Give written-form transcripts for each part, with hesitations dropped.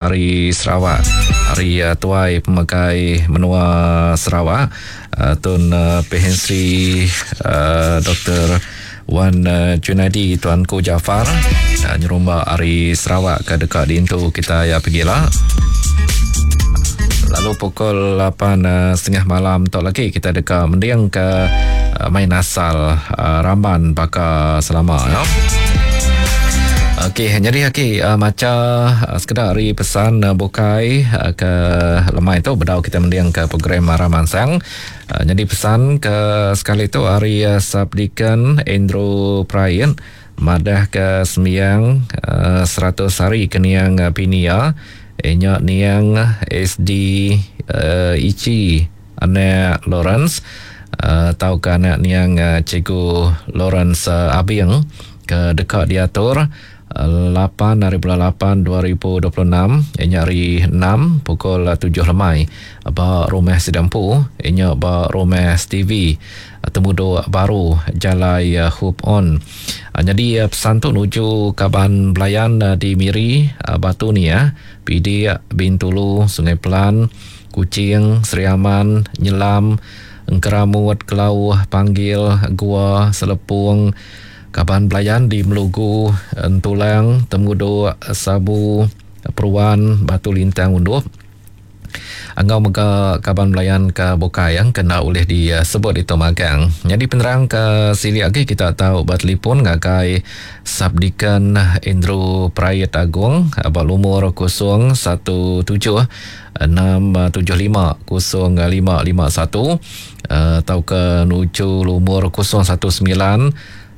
Ari Sarawak, ari Tuai Pemegai Menua Sarawak, Tun Pehin Sri Doktor Wan Junaidi Tuanku Jaafar nyerumba ari Sarawak ke deka diintu kitai pegila. Lalu pukul 8.30 malam tu lagi kita deka mendingka main asal ramban baka selama. Ya. Okey, jadi aki macha sekeda ari pesan bukai ke lemai tu bedau kita mending ke program Arah Mansang. Jadi pesan ke sekali tu ari Subdeacon Andrew Prain madah ke sembiang 100 hari ke niang bini iya nya niang SD Ichi anak Lawrence tauka anak niang Cikgu Lawrence Abing ke deka diatur 8 hari bulan 8 2026 iya nya hari 6 pukul 7 lemai ba rumah sida empu iya nya ba rumah Stevie Temudok Baru Jalai Hope On. Nyadi pesan tu nuju kaban belayan di Miri, Batu Niah, Pidik, Bintulu, Sungai Pelan, Kuching, Sri Aman, Nyelam, Engkeramut, Kelauh, Panggil, Gua, Selepong, kaban belayan di Melugu, Entulang, Temudok, Sabu, Peruan, Batu Lintang Undup, enggau mega kaban belayan ke bukai yang kena ulih disebut ditu magang. Nyadi penerang ke silik agi kita tau betelefon ngagai Subdeacon Andrew Prait Agong ba lumur 017 675 0551 tauka nuju lumur 019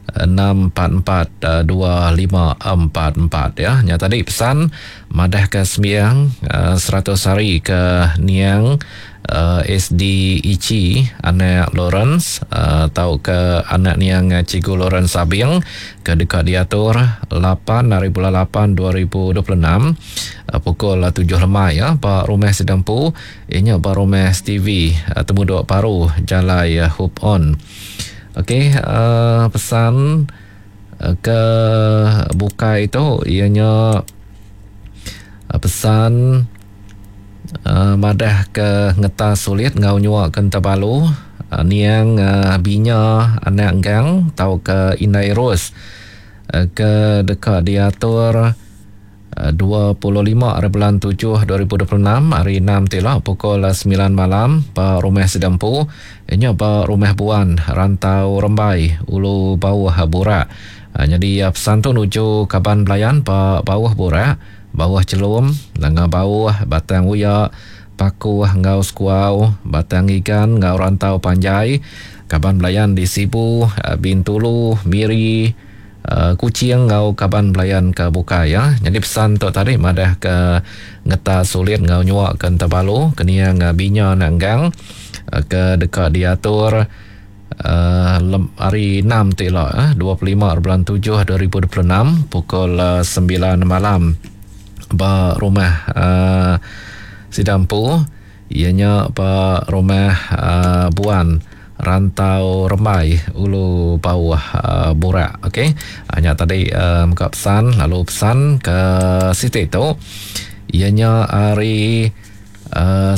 644 2544 ya. Nya tadi pesan madah ke sembiang 100 hari ke niang SD Ichi anak Lawrence tauka anak niang Cikgu Lawrence Abing ke deka diatur 8 hari bulan 8 2026 pukul 7 lemai ya ba rumah sida empu inya ba rumah Stevie Temudok Baru Jalai Hope On. Okey pesan ke bukai tu ianya pesan madah ke ngetas sulit enggau nyua ke Entabalu niang Binya anak Enggang tauka Indai Ros ke deka diatur 25 hari bulan 7 2026 hari 6 ti ila pukul 9 malam ba rumah sida empu nya ba Rumah Buan Rantau Rembai Ulu Bauh Burak. Nyadi pesan tu nuju kaban belayan ba Bauh Burak, Bauh Chelum, Nanga Bauh, Batang Uya, Pakuh enggau Sekuau, Batang Igan enggau Rantau Panjai, kaban belayan di Sibu, Bintulu, Miri, Kuching enggau kaban belayan ke bukai ya. Nyadi pesan tu tadi madah ke ngetas sulit enggau nyua ke Entabalu ke niang Binya anak Enggang ke deka diatur hari 6 ti ila 25 hari bulan 7 2026 pukul 9 malam ba rumah sida empu iya nya ba rumah Buan Rantau Rembai Ulu Bauh Burak. Okey. Nya tadi mega pesan lalu pesan ke siti tu iya nya ari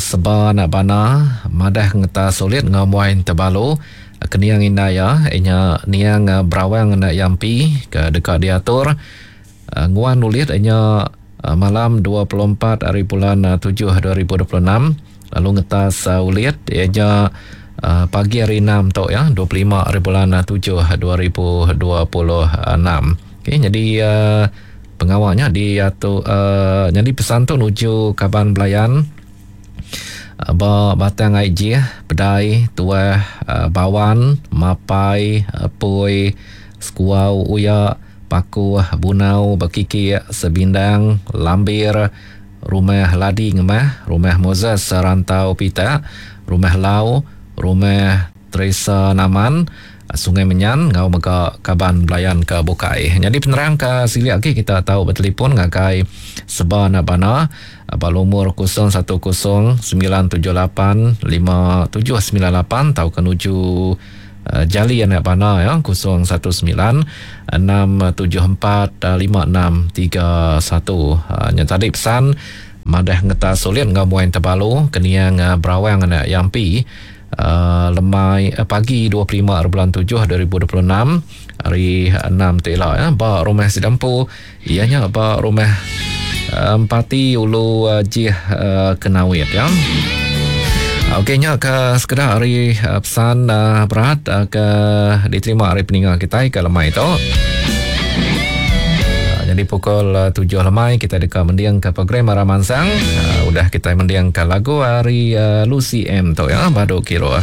Seba anak Bana madah ngeta sulit enggau muai Tebalu keniang indai iya nya niang Berawang anak Yampi ke deka diatur nguan ulit nya malam 24 hari bulan 7 2026 lalu ngetas ulit iya nya pagi hari 6 tu ya 25 hari bulan 7 2026. Okey, jadi pengawa nya diatu nyadi pesan tu nuju kaban belayan ba Batang Ai Jih, Pedai, Tuah, Bawan, Mapai, Poi, Sekuau, Uya, Pakuh, Bunau, Bekikik, Sebindang, Lambir, Rumah Ladi Ngemah, Rumah Moses Rantau Pitak, Rumah Lau, Rumah Teresa Naman, Sungai Menyan enggau mega kaban belayan ke bukai. Nyadi penerang ke silik agi kita tau betelefon ngagai Seba Anak Bana ba lumur 010 978 5798 tauka nuju Jali Anak Bana ya 019 674 5631. Nya tadi pesan. Madah ngetas ulit enggau muai tebalu keniang Berawang anak Yampi lemai pagi 25 bulan 7 2026 hari 6 tu ila ya ba rumah sida empu iya nya ba rumah Empati Ulu Jih Kenawit ya. Okey nya ke sekeda ari pesan berat ke diterima ari peninga kitai ke lemai tu. Jadi pukul 7 lemai kita deka mending ke program Arah Mansang. Udah kita mending ke lagu ari Lucy M tu ya, Badu Kiro.